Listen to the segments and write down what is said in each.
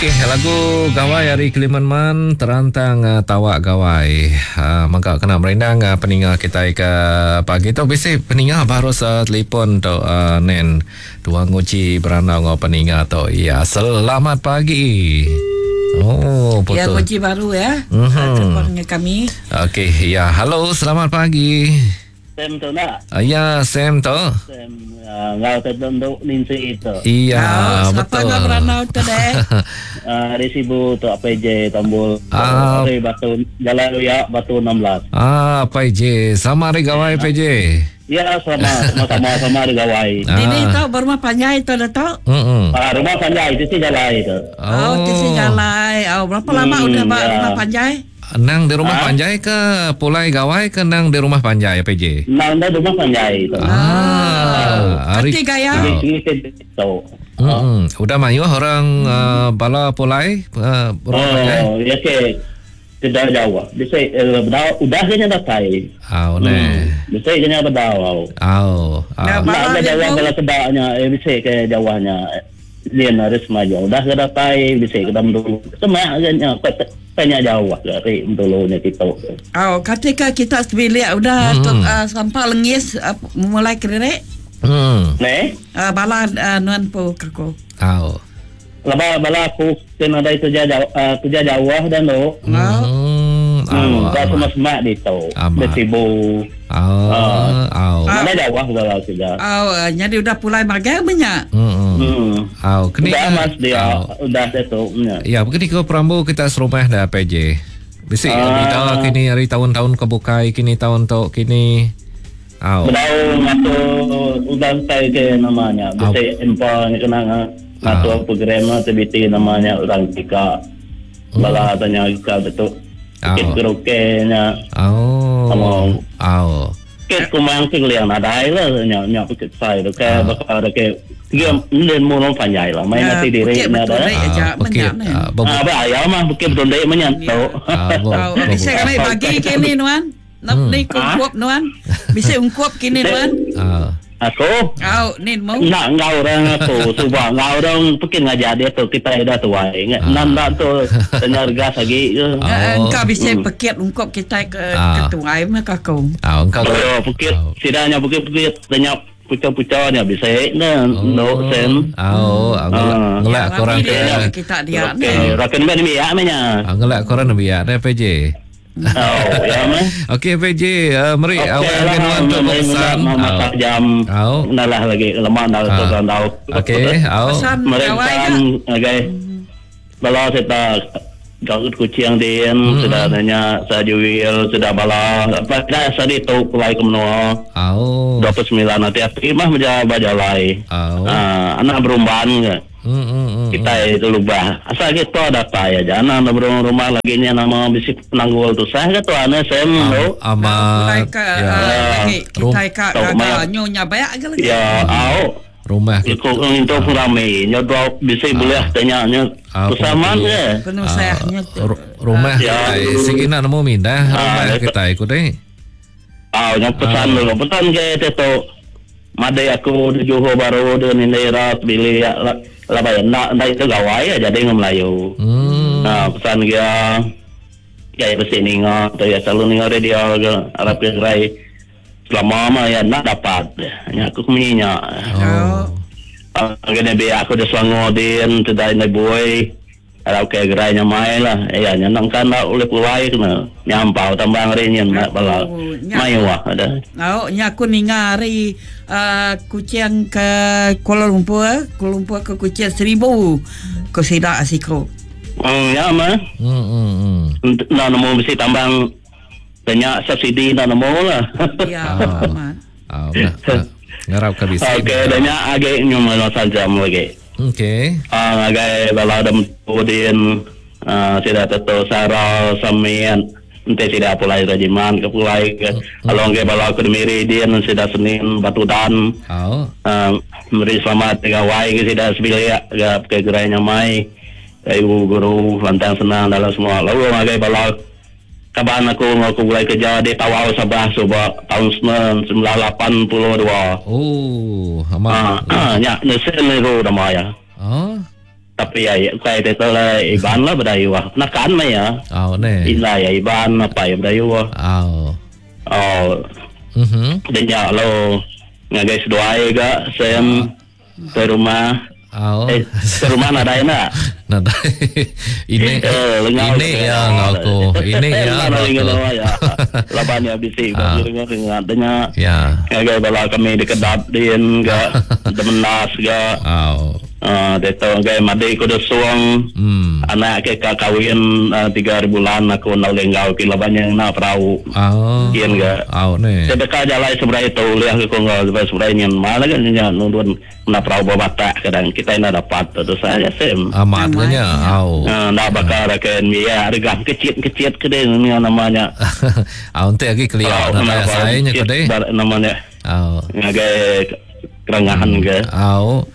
Okey, lagu Gawai ari Keliman Man terantang uh, tawak Gawai. Uh, mangka kena merindang uh, peninga kita ke pagi tu bisi peninga baru sa telefon tu uh, nen tuang nguji berandau ngau peninga tu. Ya, selamat pagi. Oh, Ya, betul. nguji baru ya. Mhm. Mm-hmm. kami. Okey, ya. Halo, selamat pagi. Sam tu nak. Uh, ya, Sam tu. Sam uh, ngau tu untuk Nancy itu. Iya, Oh, siapa betul. nak beranau tu deh? Uh, di Sibu tu APJ Tambul. Ah. Dari Batu Jalan Luya Batu 16. Ah, PJ. Sama hari gawai PJ. Ya sama sama sama sama di Gawai. Ah. Ini tu berumah panjai tu dah tu. Hmm. Ah, rumah panjai itu sih jalan itu. Oh, oh jalai. Oh, berapa lama udah ba ya. rumah panjai? Nang di rumah panjai ke pulai gawai ke nang di rumah panjai PJ? Nang dah rumah panjai itu. Ah, hari Kati gaya. Di sini tu. Hmm. Udah mayuh orang uh, bala pulai uh, rumah panjai. Oh, ya ke tidak jauh. Bisa eh, udah udah kena datai. Ah, ne. Bisa kena berdau. Au. Nah, Ah. Nak Bala ada dia jauh pun- kalau sebabnya eh, bisa ke jauhnya. Dia harus maju. Udah ke datai bisa ke dalam dulu. Semak kena tanya jauh dari dulunya kita. Oh, ketika kita sebilik udah tu, uh, sampai lengis uh, mulai kerek. Hmm. Ne? Uh, bala uh, nuan pu kerko. Au. Laba bala aku kena dari kerja jauh uh, kerja jauh dan tu. Oh. Hmm. Au. Hmm, dah semua semak di tu. Amat. Bersibu. Au. Au. Mana jauh bala kerja. Oh, uh, jadi udah pulai magang banyak. Hmm. Hmm. Au. Kini Udah mas dia Au. udah itu. Ya. Ya, begini ke perambu kita serumah dah PJ. Bisi Ah. bida kini hari tahun-tahun kebukai kini tahun tok kini. Au. Bedau ngatur udah saya ke namanya. Bisa empa ni kena ngatur program aktiviti namanya orang tika. Bala tanya ika betul. Ah. Kit karaoke nya. Au. Sama. Au. Kit kumang sing liang nadai lah nya nya bukit sai tu ke bakal ada ke dia ni mu long panjai lah main Ya, nanti diri bukit na betul ada. deh. Aja, bukit, banyak ni. ah, bebu- Ah, ba ya mah bukit betul dek menyantu. ah, bo- Oh, bo- bisa kami bagi kini nuan. Nak ni ungkup nuan. Bisa ungkup kini nuan. Ah. Aku Oh, ni mau. nak ngau orang aku cuba ngau orang mungkin ngajar dia tu kita dah tua ingat nan nak tu tanya gas lagi ke. Ah. Uh, engkau bisa pekit ungkup kita ke Ah. ketuai mah aku. Ah, engkau Oh, bukit sidanya bukit-bukit tanya puca-pucanya bisa na no sen. Au, ah, ngelak, Ah. ngelak korang Rami ke dia kita dia ni. Okey, rakan ben mi ya menya. ah, ngelak korang biar dah PJ. Oh, ya meh. Okey PJ, uh, meri Okey awak lah, akan nuan tu meri pesan. mula masak jam. Au. Nalah lagi lemak dah tu Ah. kan tau. Okey, au. Pesan Meri gawai pesan ke? okey. Bala serta Garut kucing din, sudah nanya saya jual, sudah bala. Apa dah saya tu pulai ke menua. Au. 29 nanti api mah menjawab bajalai. Au. Ah, anak berumban ke. Hmm, hmm, hmm. Kita itu lubah. Asal kita dapat aja. Anak nak berumah rumah lagi ni nama bisi penanggul tu. Saya kata anak saya tu. Pulai Amat. ke Ya. uh, lagi kita ke Rum- gagal nyonya banyak ke lagi. Ya, au. Rumah kita. Ikut itu pun ramai. Nyodoh bisi boleh tanya nya. Ah, Bersama pun- ke. Penuh sayangnya tu. Rumah Ya. kita sigi nak nemu mindah rumah Ah, kita ikut deh. Au, yang pesan dulu. Pesan ke itu. Madai aku di Johor baru di Nindera bilik ya lah lah bayar nak nak itu gawai ya jadi ngam Melayu. Hmm. Ha, pesan dia ya besi ninga tu ya selalu ninga radio ke Arab ke gerai selama mah ya nak dapat. Ya aku kemenyinya. Oh. Ah, kena biar aku dah Selangor din tidak nak boy. Arab ke gerai nya mai lah. Ya nya nak kan nak oleh pulai kena. Nyampau tambang hari ni nak bala. Oh, nya- Mai wah ada. Oh, nya aku ninga hari uh, kucing ke Kuala Lumpur, Kuala Lumpur ke kucing 1000. Ko sidak asiko. Hmm, ya mah. Hmm, hmm, hmm. Nak nemu mesti tambang banyak subsidi nak nemu lah. Ya, Ah. amat. Ah, nah, nah, ngarap ke bisi. Okey, banyak agak nyuma saja lagi. Okey. Ah, ngagai bala dem tudin ah sida teto sara samian ente sida pulai rajiman ke pulai ke along ke bala ke miri din sida senin batu dan Au. ah meri selamat gawai ke sida sebilik ke ke gerai nyamai ibu guru lantang senang dalam semua lalu ngagai bala kaban aku aku mulai kerja di Tawau Sabah suba tahun 1982 Oh, amat. ah nya nesen niru nama ya Oh. Tapi ya ukai ti tu lah Iban lah Bidayuh. Nakan meh iya. Au neh. Indai iya Iban apai iya Bidayuh. Au. Oh. Mhm. Dia nya lalu ngagai seduai ga Sam ke rumah. Au. Eh, ke rumah nadai enda? Nadai. Ini Eh, lengau ini ke ya enggau aku. Ini ya enggau Nadai aku. dengar ya. Laban ya bisi Ah. ba dengar dengar denya. Ya. Ngagai bala kami di Kedap din ga, Demenas ga. Au. Ah, dia tu ngagai madi ku Desung. Hmm. Anak ke ka kawin 3 hari bulan aku enda ulih enggau kin laban nya ngena perau. Au. Kin ga. Au neh. Saya deka jalai seberai tu ulih ke ku enggau seberai seberai nyin mal ga nya nurun ngena perau ba batak kadang kitai enda dapat tu tusah ga sim. Amat ga nya. Au. Ah, enda baka ra ke nembiak regah kecit kecit ke deh nya nama nya. Au enti agi kelia nadai asai nya ku deh. Nama nya. Au. Ngagai kerangahan ke. Au.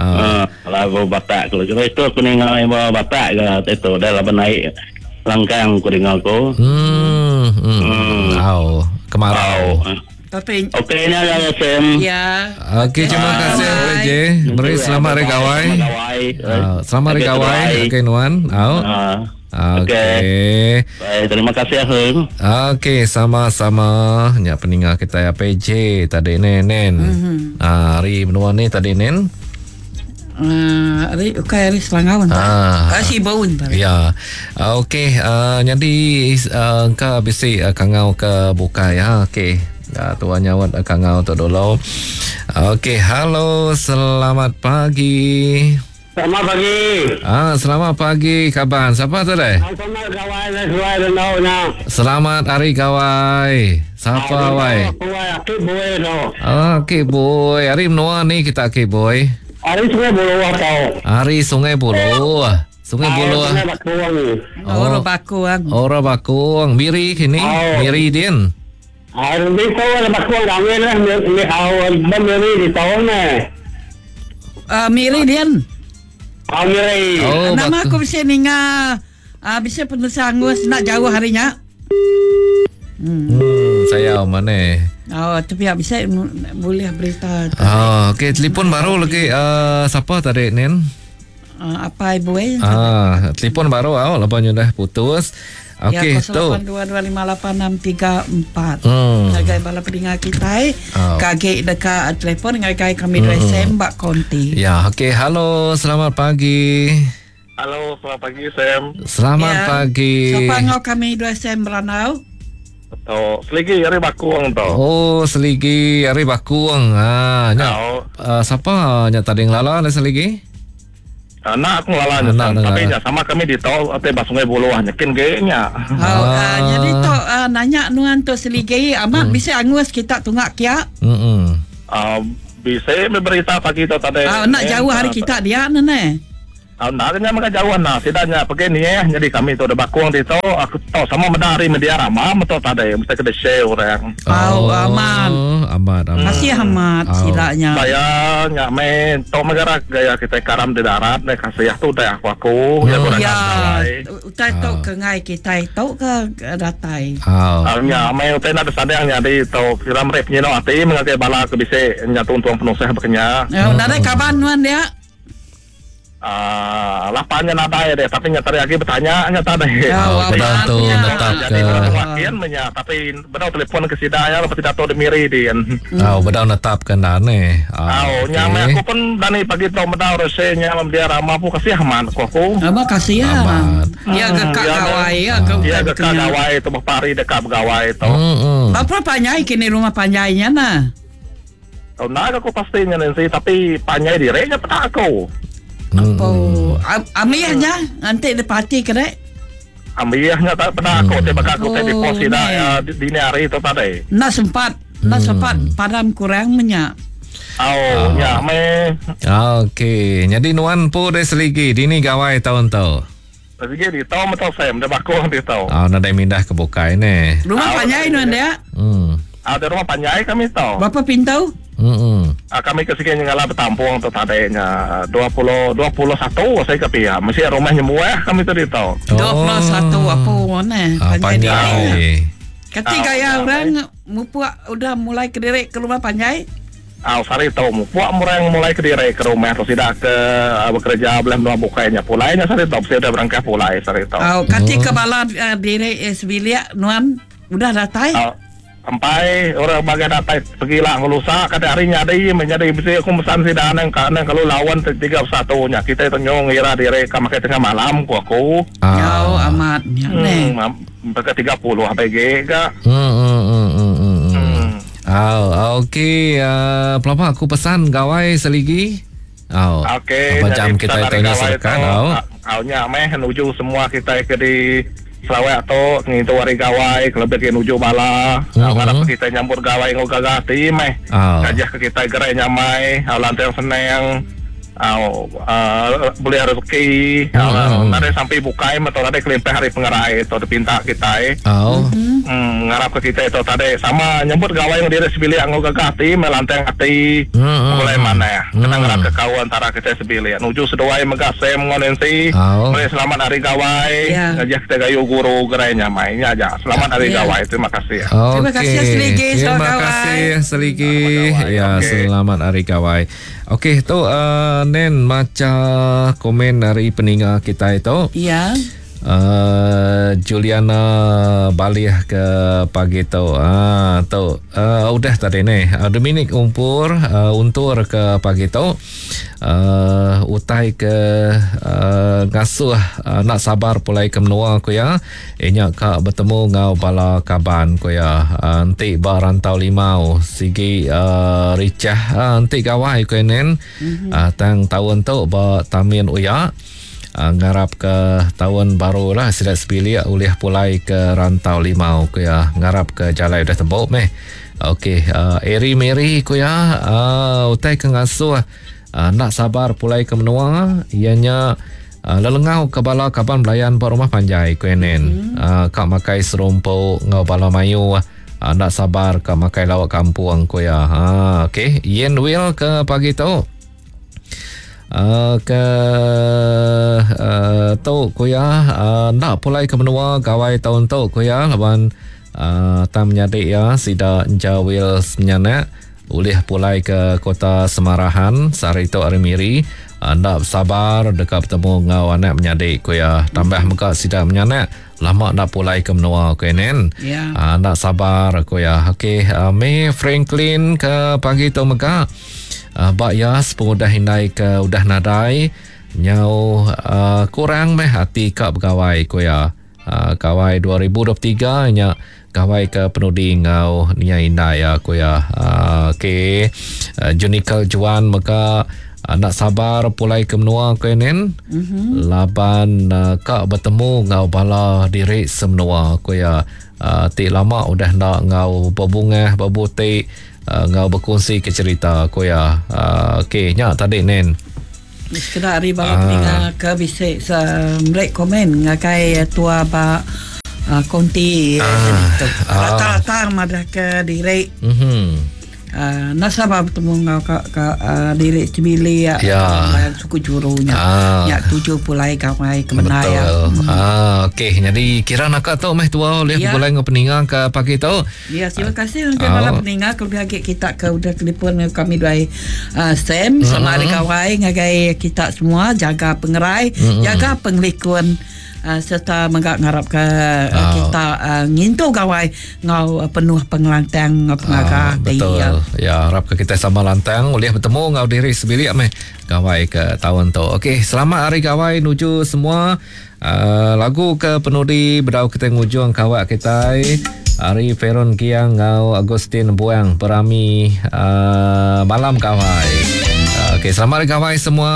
Ah, lagu Batak ku. Kira itu aku ninga iba Batak ke itu dah laban naik langkang ku dengar ku. Hmm. hmm. Au, kemarau. Au. Tapi Okey nya ya Sam. Ya. Okey, terima kasih PJ. Beri selamat hari gawai. Ah, selamat hari gawai. Okey nuan. Au. Ah. Okey. Baik, terima kasih Ahun. Okey, sama-sama. Nya peninga kita ya PJ tadi nen nen. Mm-hmm. Ah, hari menua ni tadi nen. Hari ukai hari Selangau entah. Ah. Ah, Sibau entah. Ya. Okey, jadi engka bisi kangau ke bukai ya. Okey. Tuan nyawat kangau tu dulu. Okey, halo, selamat pagi. Selamat pagi. Ah, selamat pagi kaban. Siapa tu deh? Selamat gawai dan sesuai dengan nya. Selamat hari gawai. Siapa wai? Aku wai aki boy tu. Ah, okey boy. Hari menua ni kita okey boy. Hari Sungai Buloh tau. Hari Sungai Buloh. Sungai Buloh. Sungai Bakung. Oh, Orang Bakung. Orang Bakung. Miri kini. Oh. Miri din. Hari ni kau ada Bakung kami lah. Ni awal Miri di tahun ni. Miri din. Ah, Miri. Oh, Nama Bakung. aku bisa ninga bisa penulis angus nak jauh harinya. Saya mana? Oh, tapi ya bisa boleh berita Ah, okey, telefon baru lagi siapa tadi Nen? apa ibu eh? Ah, telefon baru awak lepas dah putus. Okey, ya, tu. 0822586634. Hmm. Ngagai bala pendengar kita eh. Oh. Kaget dekat telefon ngagai kami hmm. SM bak konti. Ya, okey, halo, selamat pagi. Halo, selamat pagi Sam. Selamat Ya. pagi. Siapa ngau kami dua SM Meranau? Atau seligi hari Bakung tu. Oh, seligi hari Bakung. Ah, nya. Oh. Siapa nya tadi ngelala dah seligi? Anak aku ngelala nya Anak Sam. Tapi ngelala. nya sama kami di tol atau bah Sungai Buloh nyekin ge nya. Oh, ah. jadi tu nanya nuan tu seligi amat bisa angus kita tungak kia. Hmm. Ah, bisa berita pagi tu tadi. Ah, nak jauh hari kita dia nene. Ah, nak nya maka jauh nah. Sidanya pergi ni eh. Jadi kami tu ada Bakung di tu. Aku tahu sama medari media ramah betul tadi. Mesti kena share orang. Oh, aman. Aman, aman. Kasih amat Oh. silanya. Saya nyak main tok megara gaya kita karam di darat nek kasih tu dah aku aku ya Hmm. kurang Ya, gawai. utai tu ke ngai kita tu ke ke datai. Oh. Ah, nya main utai nak sadang nya di tu kira mereka penyino ati mengakai bala ke bise nya tuntung penusah bekenya. Ya, nadai kaban nuan dia. Ah, lapannya nadai deh, tapi nya tadi lagi bertanya nya tadi. Ya, Oh, amat pedang tu nya. netap Jadi ke. orang wakian menya, tapi benar telefon ke sida ya, lepas tidak tahu demiri dia. Oh, bedau netap ke nane. Ah, Ah, nya okey. aku pun dani pagi tau medau resenya mam dia ramah pun kasih aman aku aku. Apa kasih ya. Amat. Ya ke kak Ya, gawai ya ke Dia utai dekat bekenya. gawai tu pari dekat begawai tu. Hmm. hmm. Berapa panjai kini rumah panjainya nah? Oh, nak aku pastinya nanti tapi panjai dirinya pada aku. Hmm. Oh, amihnya nanti dia parti ke dek? Ambilnya tak pernah aku tiba aku tadi Oh, pos ni. dah ya, di dini hari itu tadi. Nak sempat, nak sempat padam kurang menyak. Oh, ya me Okey, jadi nuan pu deh seligi dini gawai tahun tu. Lagi di tau betul Sam, dia bakung di tau. Ah, nadai mindah ke bukai ni. Rumah Ah, panjai nuan dia. Hmm. Ada rumah panjai kami tau. Berapa pintu? Hmm. Ah, kami ke sini ngalah bertampung tu tadinya 20 21 saya ke pihak. Mesti rumahnya muah kami tadi tau. 21 apa mana? Ah, Panjai dia. panjai. Ketika Ah, ya ah, orang mupuk udah mulai kederek ke rumah panjai. Au sehari tu mupuk murang mulai kediri ke rumah tu sida ke bekereja beleh menua bukai nya pulai nya sehari tu bisi udah berengkah pulai sehari tu. Au kati ke bala diri sebilik nuan udah datai? Au empai orang bagai datai pegila enggau lusa kada hari nyadi meh nyadi bisi aku mesan sida anang ka anang kalu laun 31 nya kitai tu nyau ngira diri ka makai tengah malam ku aku. Au amat nya neh. Baka 30 abai agi ga. Hmm. Au, okey, pelaba aku pesan gawai seligi. Au. Okey, Apa jam kita itu nya serekat au. Au nya meh nuju semua kita ke di Sarawak tu ngintu hari gawai kelebih agi nuju bala. Au ngarap ke kita nyambut gawai enggau gaga ati meh. Ngajih ke kita gerai nyamai, au lantang senang. Au bulih rezeki nadai sampi bukai meh tu tadi kelimpah ari pengerai tu dipinta kitai. Ngarap ke kitai tu tadi sama nyebut gawai enggau diri sebilik enggau gaga ati meh lantang ati begulai manah kena ngerat ke kaul antara kitai sebilik. Nuju seduai mega Sam enggau Nancy meri selamat hari gawai ngajih kitai gayu guru gerai nyamai. Nya aja selamat hari gawai terima kasih. Terima kasih Seligi selamat gawai. Terima kasih Seligi ya selamat hari gawai. Okey tu uh, Nen macha komen ari peninga kitai tu. Ya. Juliana Balih ke pagi tu. Ah tu uh, udah tadi ni. Dominic Umpur uh, untur ke pagi tu. Uh, utai ke uh, ngasuh uh, nak sabar pulai ke menua ku ya. Inya ka betemu enggau bala kaban ku iya. Enti ba Rantau Limau sigi richah enti gawai ku iya nen. Tang taun tu ba Tamin Uya ngarap ka taun baru lah sida sebilik ulih pulai ke Rantau Limau ku iya. Ngarap ka jalai udah tembu meh. Okey Eri Meri ku iya utai ke ngasuh enda sabar pulai ke menua iya nya Lelengau ke bala kaban belayan ba rumah panjai, ku Enen. Ka makai serumpu enggau bala mayuh. Enda sabar ka makai lauk kampung, ku iya. Okey, Yen Will ke pagi tu. Ke tu ku iya, enda pulai ke menua gawai taun tu ku iya laban tang menyadi iya sida Enja Will Semenyanak. Ulih pulai ke Kota Semarahan sehari tu ari Miri, enda besabar deka betemu enggau anak menyadi, ku iya. Tambah mega sida menyanak lama enda pulai ke menua, ku Enen. Enda sabar, ku iya. Okey, May Franklin ke pagi tu mega ba iya sepengudah indai ke udah nadai nyau kurang meh ati ka begawai, ku iya. Gawai 2023 nya gawai ke penudi enggau nia indai iya ku iya. Okey. Junical Juan mega enda sabar pulai ke menua ku iya nin. Laban ka betemu enggau bala diri semenua ku iya. Ti lama udah enda enggau bebungah bebuti enggau bekunsi ke cherita ku iya. Okey nya tadi nin. Sekeda ari bala peninga ke bisi meri komen ngagai tua ba konti tu. Rata-rata madahka diri enda sabar betemu enggau ka diri sebilik suku juru nya. Nya tuju pulai gawai ke bendar iya. Okey nyadi kira naka tu meh tua ulih begulai enggau peninga ke pagi tu. Ya, terima kasih ngagai bala peninga kelebih agi kita ke udah telefon enggau kami duai uh, Sam sama hari gawai ngagai kita semua jaga pengerai, jaga pengelikun uh, serta mega ngarapka uh, kita uh, ngintu gawai enggau uh, penuh pengelantang enggau pengaga ati. Betul. Ya, harapka kita sama lantang ulih betemu enggau diri sebilik meh gawai ke taun tu. Okey, selamat hari gawai nuju semua. Lagu ke penudi bedau kitai ngujung kawak kitai ari Feron Giang enggau Agustin Buang berami malam gawai. Okey, selamat hari gawai semua.